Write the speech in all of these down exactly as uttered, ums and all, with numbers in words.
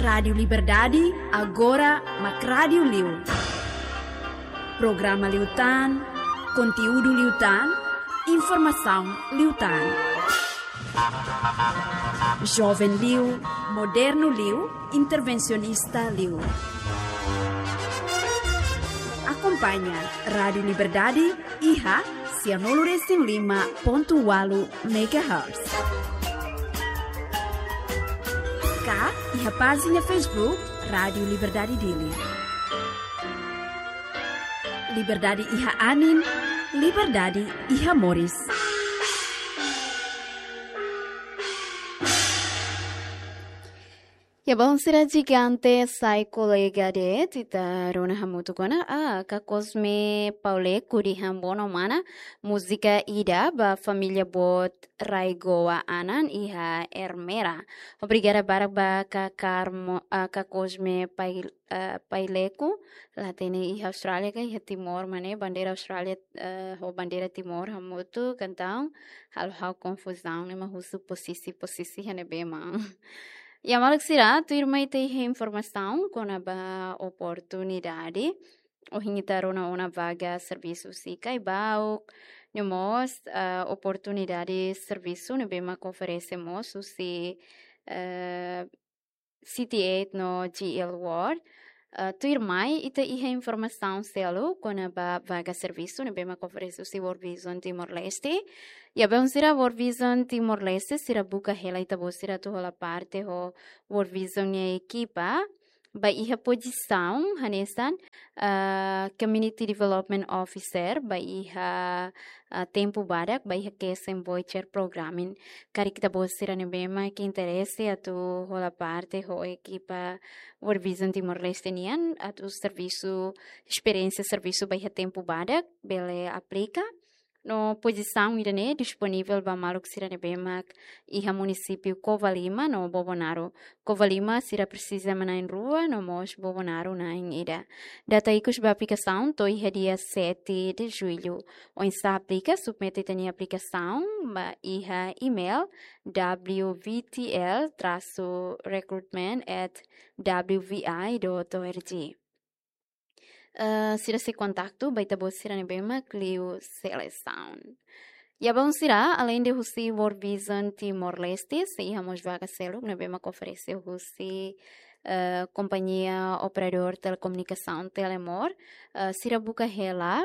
Rádiu Liberdade, agora mak rádiu liu. Programa liután, konteúdu liután, informasaun liután. Joven liu, modernu liu, intervensionista liu. Akompaña Rádiu Liberdade iha sianulu resin lima pontu ualu megahertz. Ka iha pájina Facebook Rádiu Liberdade Dili. Liberdade iha anin, liberdade iha moris. Ya, bom, sira jigante sai kolega de'it, ita rona hamutuk ona, ah, Kakosme Pauleku dehan bono mana, múzika ida ba família boot Raigoa Anan iha Ermera. Obrigada barak ba Kakar mo-, ah, Kakosme Pai-, ah, Paileku, la hatene iha Austrália ka iha Timor, mane bandeira Austrália, eh, ho bandeira Timor hamutuk, entaun halo ha'u konfuzaun, ne'e mak husu posisi, posisi iha ne'ebé mak. Ya, maluk sira, tuirmai ita iha informasaun kona-ba oportunidade. Ohin ita rona ona vaga servisu husi Caibauk, no mós, ah, oportunidade servisu ne'ebé mak oferese mós husi, eh, City eight no G L World. Ah, tuirmai ita iha informasaun seluk kona-ba vaga servisu ne'ebé mak oferese husi World Vision Timor-Leste. Ya, bom, sira, World Vision Timor-Leste, sira buka hela ita-boot sira atu hola parte ho World Vision nia ekipa ba iha pozisaun hanesan, ah, Community Development Officer ba iha, ah, tempu badak ba iha cash and voucher programming. Karik ita-boot sira ne'ebé mak interese atu hola parte ho ekipa World Vision Timor-Leste nian atu servisu, esperiénsia servisu ba iha tempu badak, bele aplika. No pozisaun ida-ne'e disponivel ba maluk sira ne'ebé mak iha munisípiu Covalima no Bobonaro. Covalima sira presiza manán rua no mós Bobonaro na'in ida. Data ikus ba aplikasaun to'o iha dia sete de julho. Oinsá aplika, submete ita-nia aplikasaun ba iha email W V T L traço recruitment at W V I dot O R G. Eh, sira sei kontaktu ba ita-boot sira ne'ebé mak liu selesaun. Ya, bom, sira, aleinde husi World Vision Timor-Leste, sei iha mós vaga seluk ne'ebé mak oferese husi, eh, kompañia operadór telekomunikasaun Telemor, eh, sira buka hela,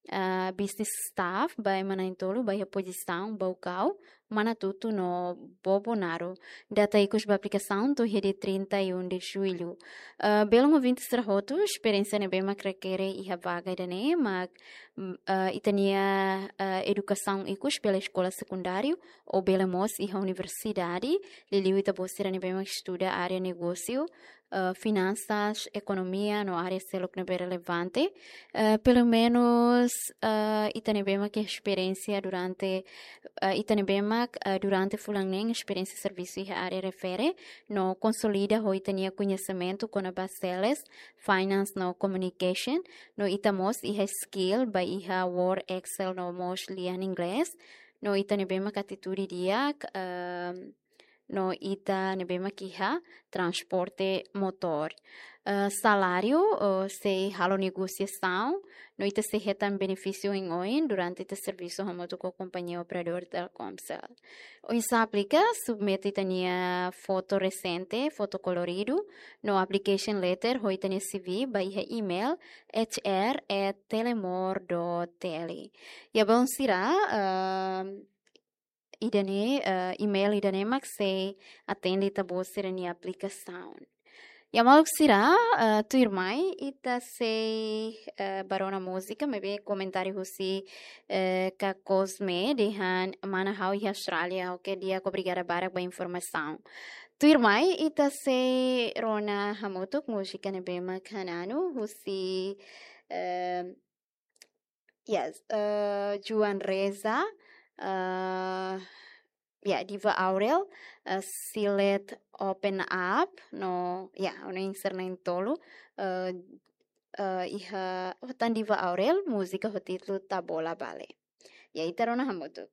eh, business staff ba ema na'in-tolu ba iha pozisaun Baucau, Manatuto no Bobonaro. Data ikus ba aplikasaun to'o iha dia trinta e um de julho. Eh, belun ouvinte sira hotu, esperiénsia ne'ebé mak rekere iha vaga ida-ne'e mak, mm, eh, ita-nia, eh, edukasaun ikus bele eskola sekundáriu ou bele mós iha universidade, liuliu ita-boot sira ne'ebé mak estuda área negósiu, eh, finansas, ekonomia no área seluk ne'ebé relevante. Eh, pelumenus, eh, ita ne'ebé mak iha esperiénsia durante, eh, ita ne'ebé mak, eh, durante fulan neen esperiénsia servisu iha área refere, no konsolida ho ita-nia koñesimentu kona-ba sales, finance no communication, no ita mós iha skill ba iha Word, Excel no mós lian inglés, no ita ne'ebé mak atitude di'ak, ehm, no ita ne'ebé mak iha transporte motór. Eh, saláriu, eh, sei halo negosiasaun, no ita sei hetan benefísiu oioin durante ita servisu hamutuk ho kompañia operadór Telkomcel. Oinsá aplika, submete ita-nia foto resente, foto koloridu, no application letter, ho ita-nia C V, ba iha email H R at telemor dot T L. Ya, bom, sira, ehm, ida-ne'e, eh, email ida-ne'e mak sei atende ita-boot sira-nia aplikasaun. Ya, maluk sira, eh, tuirmai ita sei, eh, bá rona múzika, maibé komentáriu husi, eh, Kakosme dehan mana ha'u iha Austrália, oke, di'ak, obrigada barak ba informasaun. Tuirmai ita sei rona hamutuk múzika ne'ebé mak Hananu husi, eh, yes, eh, Joan Reza, eh, ya, Diva Aurel, eh, Silet Open Up, no, ya, oinsá na'in-tolu, eh, eh, iha, oh, tan Diva Aurel, múzika ho títulu Tabola Bale. Ya, ita rona hamutuk.